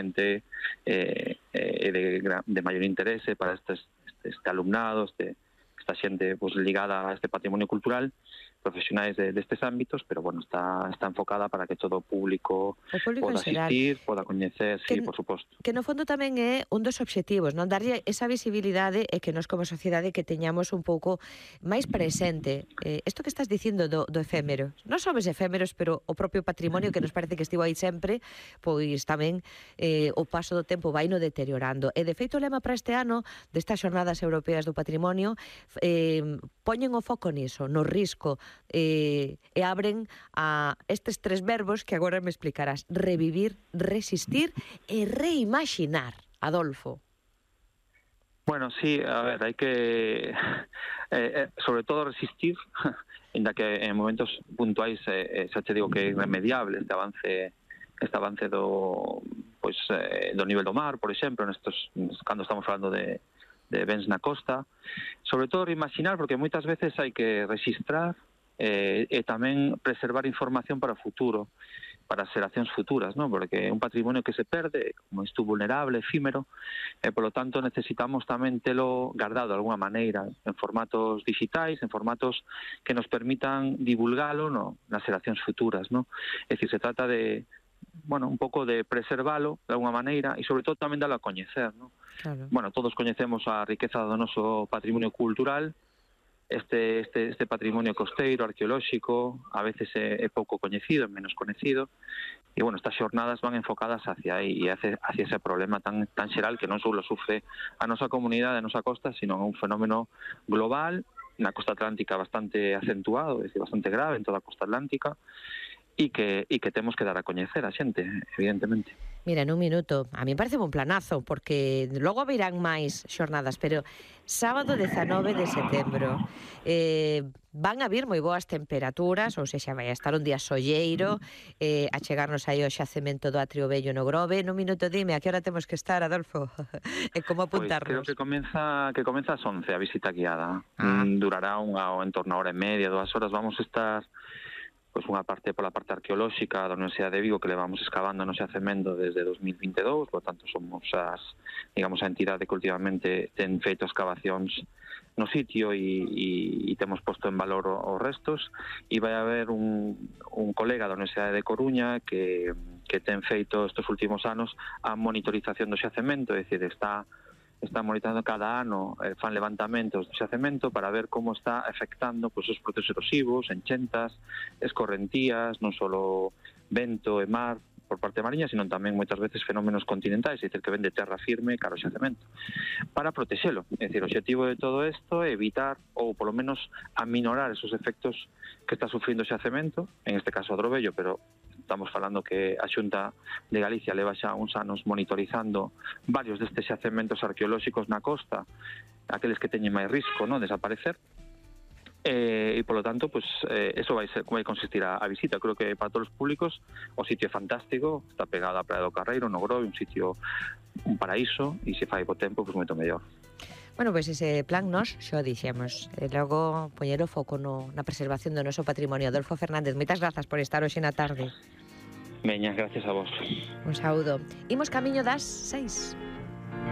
de maior interese para este alumnado, esta xente pues, ligada a este patrimonio cultural, profesionais destes ámbitos, pero bueno, está enfocada para que todo o público poda asistir, poda coñecer, sí, por suposto. Que no fondo tamén é un dos obxectivos, non? Darlle esa visibilidade e que nos como sociedade que teñamos un pouco máis presente isto que estás dicindo do efémero. Non somos efémeros, pero o propio patrimonio que nos parece que estivo aí sempre, pois tamén o paso do tempo vai no deteriorando. E de feito o lema para este ano destas xornadas europeas do patrimonio poñen o foco niso, no risco, e abren a estes tres verbos que agora me explicarás: revivir, resistir e reimaxinar. Adolfo. Bueno, sí, a ver, hai que sobre todo resistir, ainda que en momentos puntuais xa te digo que é irremediable este avance do nivel do mar, por exemplo, cando estamos falando de bens na costa, sobre todo reimaxinar, porque moitas veces hai que registrar e tamén preservar información para o futuro, para as xeracións futuras, ¿no? Porque é un patrimonio que se perde, como isto vulnerable, efímero, e polo tanto necesitamos tamén telo guardado de alguna maneira en formatos digitais, en formatos que nos permitan divulgalo nas xeracións futuras, ¿no? É dicir, se trata de un pouco de preservalo de alguna maneira e sobre todo tamén dalo a coñecer, ¿no? Claro. Bueno, todos coñecemos a riqueza do noso patrimonio cultural. Este patrimonio costeiro, arqueolóxico, a veces é pouco coñecido, é menos coñecido, e, bueno, estas xornadas van enfocadas hacia aí, e hacia ese problema tan xeral que non só sufre a nosa comunidade, a nosa costa, sino un fenómeno global, na costa atlántica bastante acentuado, é dicir, bastante grave en toda a costa atlántica, e que temos que dar a coñecer a xente, evidentemente. Mira, en un minuto, a mí me parece un planazo, porque logo virán máis xornadas, pero sábado 19 de setembro van a vir moi boas temperaturas, ou sexa, vai a estar un día solleiro, a chegarnos aí ao xacemento do Atrio Vello no Grove. En un minuto dime, a que hora temos que estar, Adolfo? E como apuntarnos? Pois creo que comeza ás 11 a visita guiada. Durará en torno a hora e media, 2 horas. Vamos a estar unha parte pola parte arqueolóxica da Universidade de Vigo, que levamos excavando no xacemento desde 2022, por tanto somos a entidade que últimamente ten feito excavacións no sitio e temos posto en valor os restos, e vai haber un colega da Universidade de Coruña que ten feito estes últimos anos a monitorización do xacemento, é dicir, está monitorizando cada ano, fan levantamentos do xacemento para ver como está afectando os procesos erosivos, enchentas, escorrentías, non só vento e mar por parte mariña, sino tamén moitas veces fenómenos continentais, é dicir, que ven de terra firme cara ao xacemento, para protexelo. É dicir, o objetivo de todo isto é evitar, ou polo menos aminorar esos efectos que está sufrindo o xacemento, en este caso a Drobello, pero estamos falando que a Xunta de Galicia leva xa uns anos monitorizando varios destes xacementos arqueolóxicos na costa, aqueles que teñen máis risco, ¿no?, desaparecer, e polo tanto, pues, eso vai consistir a visita. Creo que para todos os públicos o sitio é fantástico, está pegado á Praia do Carreiro, no Grove, un paraíso, e se fai bo tempo, pues moito mellor. Bueno, pois ese plan nós xo dixemos, e logo poñer o foco na preservación do noso patrimonio. Adolfo Fernández, moitas grazas por estar hoxe na tarde. Veña, gracias a vos. Un saúdo. Imos camiño das 6.